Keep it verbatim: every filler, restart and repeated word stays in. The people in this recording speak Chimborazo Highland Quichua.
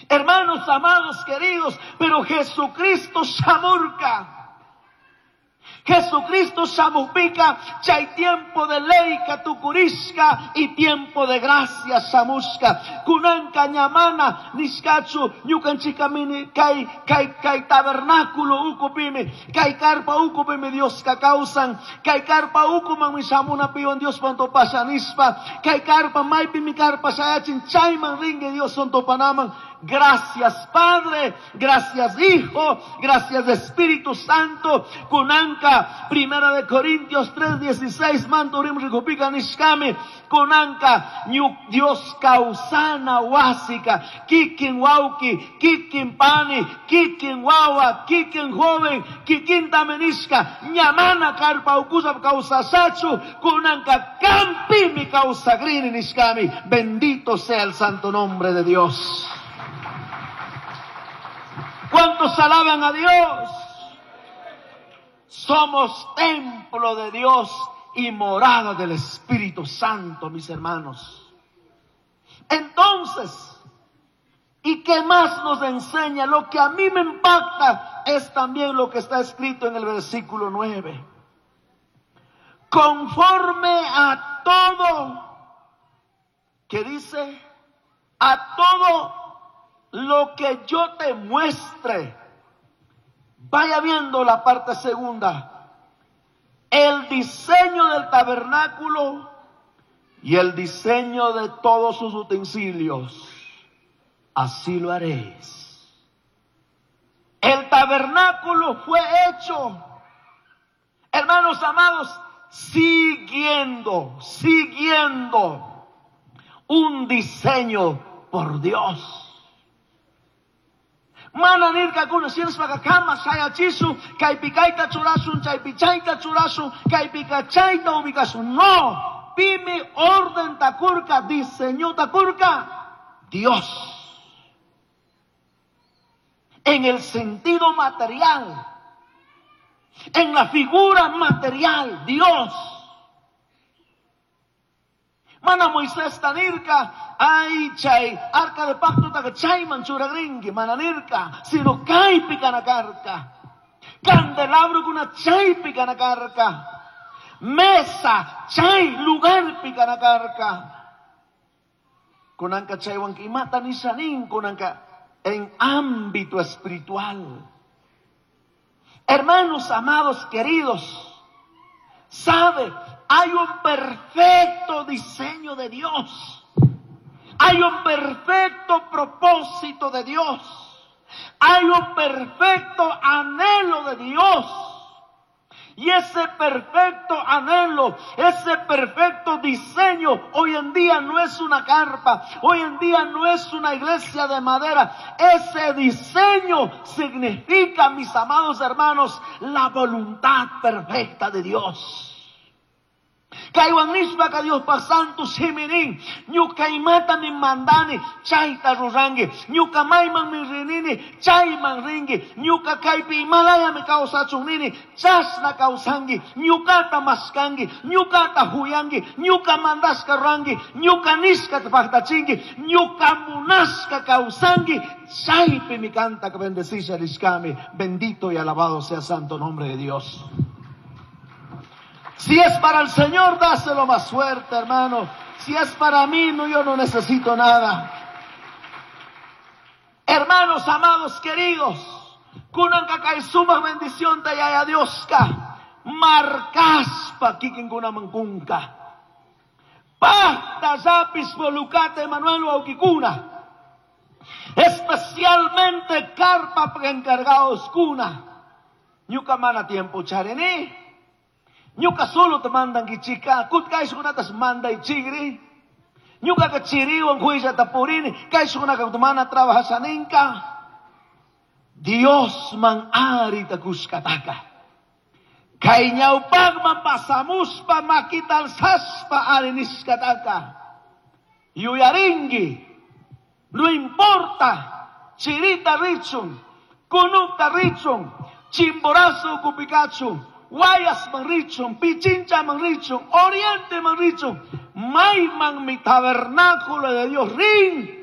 Hermanos amados, queridos, pero Jesucristo shamurka. Jesucristo shamupika, chay tiempo de ley tukurishka y tiempo de gracia shamushka. Kunanka ñamana nishkachu ñukanchikamini kay kay kay tabernáculo ukupimi, kay carpa ukupimi Dios kawsan, kay carpa ukuman mi shamuna piwan Dios pantopasha nishpa, kay carpa maypi mi carpa shayachin chayman ringue Dios tompanaman. Gracias Padre, gracias Hijo, gracias Espíritu Santo. Kunanka, Primera de Corintios tres dieciséis, manturim rikupika nishkami. Kunanka, Dios kausana wasika, kikin wauki, kikin pani, kikin wawa, kikin joven, kikin tamenishka, ñamana karpa ukusa kausasachu, kunanka kampimi kausagrini nishkami. Bendito sea el santo nombre de Dios. ¿Cuántos alaban a Dios? Somos templo de Dios y morada del Espíritu Santo, mis hermanos. Entonces, ¿y qué más nos enseña? Lo que a mí me impacta es también lo que está escrito en el versículo nueve. Conforme a todo, ¿qué dice? A todo lo que yo te muestre. Vaya viendo la parte segunda. El diseño del tabernáculo y el diseño de todos sus utensilios, así lo haréis. El tabernáculo fue hecho, hermanos amados, siguiendo, siguiendo un diseño por Dios. Mana nirka kuna sinspaka kama sayachisu, kaypikayta churasun, chaypichayta churasun, kaypikachayta ubikasun. No, pimi orden takurka, diseño takurka, Dios. En el sentido material, en la figura material, Dios. Mana Moisés tanirka, ay chay, arca de pacto taka chay manchuragringi, mana nirka, sino kaypi kanakarka. Candelabro kuna chaypi kanakarka. Mesa, chay, lugar pikanakarka. Kunanka chaywan imata nishanin, kunanka en ámbito espiritual. Hermanos amados, queridos, sabe, hay un perfecto diseño de Dios. Hay un perfecto propósito de Dios. Hay un perfecto anhelo de Dios. Y ese perfecto anhelo, ese perfecto diseño, hoy en día no es una carpa, hoy en día no es una iglesia de madera. Ese diseño significa, mis amados hermanos, la voluntad perfecta de Dios. Kaywan nishpa ka Dios pa santo shimirin, ñuka imata mi mandani, chayta rurangi, ñuka mayman mi rinini, chayman ringi, ñuka kaypi imalaya mi kawsachun nini, chashna kawsangi, ñukata maskangi, ñukata huyangi, ñuka mandashka rurangi, ñuka nishka paktachingi, ñuka munashka kawsangi, chaypi mi kanta ka bendecisa rishkami. Bendito y alabado sea santo nombre de Dios. Si es para el Señor, dáselo más fuerte, hermano. Si es para mí, no, yo no necesito nada. Hermanos amados, queridos, kunanka kay sumaj bendición te yaya Dioska, marcaspa kikin kunamankunka. Pacta zapis volucate Manuel Aukikuna. Especialmente carpa encargados kuna. Ñuka mana tiempo charení. Ñuka solo te mandan kichika, kut kaishkunatas manda y chigri. Ñuka ka chiriwan huilla tapurini, kaishkunaka mana trabajasaninka. Dios man ari takushkataka. Kay ñawpaqman pasamuspa makital saspa ari nishkataka. Yuyaringi, no importa, chirita richun, kunukta richun, chimborazo kupikachu, Guayas manrichon, Pichincha manrichon, Oriente manrichon, Mayman mi tabernáculo de Dios, rin,